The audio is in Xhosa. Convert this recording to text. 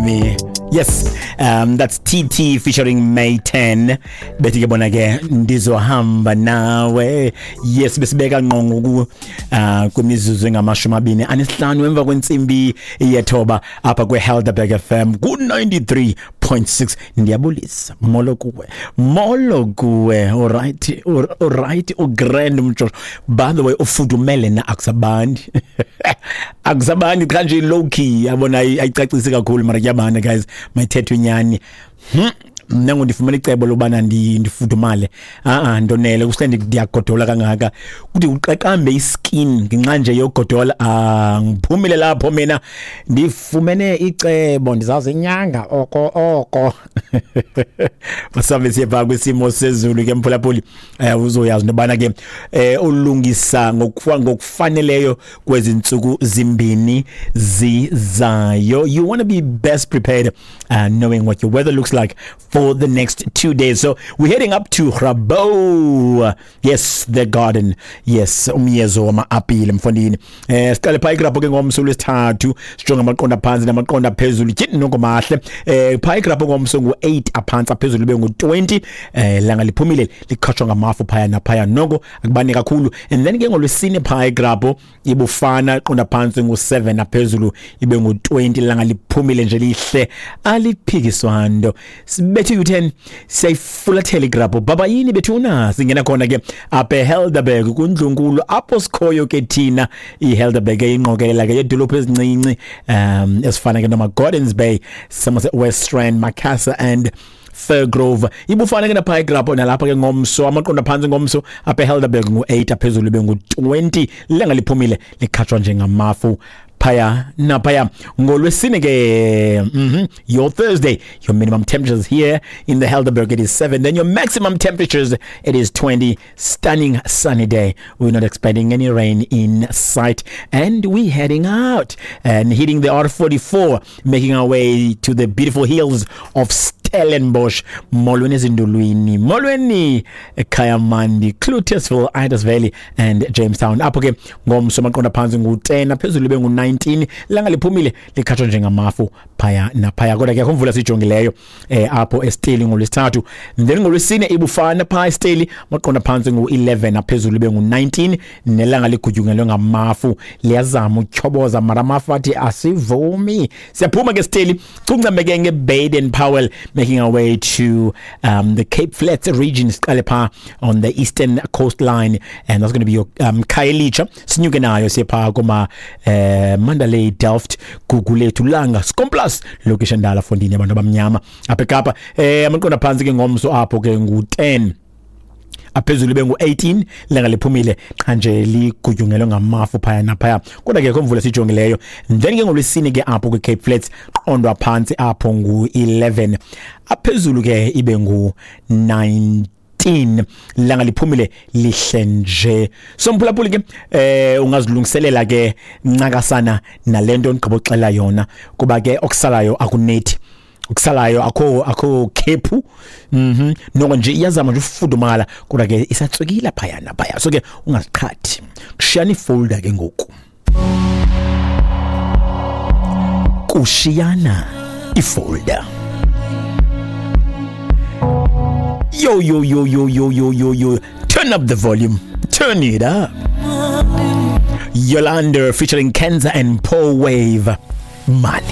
Nami. Yes, that's TT featuring May 10. Bethi ke bona ke ndizohamba nawe. Yes, besibeka ngqongo ku kwimizuzu engama-25 emva kwentsimbi yethoba apha kweHelderberg FM ku 93.6. Ndiyabulisa. Molo kuwe. Molo kuwe. All right. All right. Ugrand mtsho. By the way, ufudumele na akusabandi. Akusabandi cha nje low key yabona ayicacisi kakhulu mara kuyabanda guys, mayithethwe inyani. Mna ngondifumana icebo lobana ndifudumale. Ndonele kusele ndiyagodola kangaka kuthi uqaqambe iskin ngenxa nje yogodola. Ngiphumile lapho mina ndifumene icebo, ndizazi inyanga oko oko. Masambe siye phaa kwisimo sezulu ke mphulaphuli. Uzoyazi nobana ke ulungisa ngokufaneleyo kwezi ntsuku zimbini zizayo. You want to be best prepared, knowing what your weather looks like for the next 2 days. So we're heading up to Grabouw. Yes, the garden. Yes, umyezo wama-apile mfondini. Siqale phaa iGrabouw ke ngomso lwesithathu, sijonge amaqonda phantsi namaqonda phezulu. Tyhini noko mahle. Phaa iGrabouw ngomso ngu-8 aphantsi, aphezulu ibe ngu-20. Langa liphumile likhatshwa ngamafu phaya naphaya, noko akubani kakhulu. And then ke ngolwesine phaa iGrabouw ibufana, iqonda phantsi ngu-7, aphezulu ibe ngu-20. Langa liphumile nje lihle, aliphikiswa nto. Sibethe u-10 siyayifulathela iGrabouw. Baba yini bethuna, singena khona ke apha eHelderberg kundlunkulu apho sikhoyo ke thina. iHelderberg ingqokelela ke yedolophu ezincinci ezifana ke noma Gordons Bay, Somerset West Rand, Macassar and Firgrove. Ibufana ke napha eGrabouw nalapha ke ngomso, amaqonda phantsi ngomso apha eHelderberg ngu-8, aphezulu ibe ngu-20. Langa liphumile likhatshwa njengamafu phaya naphaya. Ngolwesine ke, your Thursday, your minimum temperatures here in the Helderberg, it is 7, then your maximum temperatures, it is 20. Stunning sunny day. We're not expecting any rain in sight, and we heading out and hitting the R44, making our way to the beautiful hills of Stellenbosch. Molweni ezindulwini, molweni eKayamandi, Cloetesville, Idas Valley and Jamestown. Apho ke ngomso amaqonda phantsi ngu-10, aphezulu ibe ngu-19. Langa liphumile likhatshwa njengamafu phaya naphaya, kodwa ke akho mvula siyijongileyo apho eSteli ngolwesithathu. Then ngolwesine ibufana phaa eSteli, amaqonda phantsi ngu-11, aphezulu ibe ngu-19, nelanga ligutyungelwe ngamafu, liyazama utyhoboza mara amafu athi asivumi. Siyaphuma ke Steli, cuncame ke ngeBaden Powell, making our way to the Cape Flats region. Siqale phaa on the eastern coastline, and that's going to be your Khayelitsha. Sinyuke nayo siye phaa kuma Mandalay, Delft, Gugulethu, Langa, Skomplaas, lokishi endala fondini abantu abamnyama apha eKapa. Amaqonda phantsi ke ngomso apho ke ngu-10, aphezulu ibe ngu-18. Langa liphumile qha nje ligutyungelwe ngamafu phaya naphaya, kodwa ke mvula sijongileyo. Then ke ngolwesine ke apho kwi-Cape Flats, qondwa phantsi apho ngu-11, aphezulu ke ibe ngu-19. Langa liphumile lihle nje. So mphulaphuli ke ungazilungiselela ke ncakasana nalento ndigqiboxela yona, kuba ke okusalayo akunethi, okusalayo akho khephu. Noko nje iyazama nje ufudumala, kodwa ke isatswekile phaya naphaya, so ke ungaziqhathi. Kushiyana ifolder ke ngoku, kushiyana ifolder. Yo yo yo yo yo yo yo yo, turn up the volume, turn it up. Yolanda featuring Kenza and Paul Wave, Mali.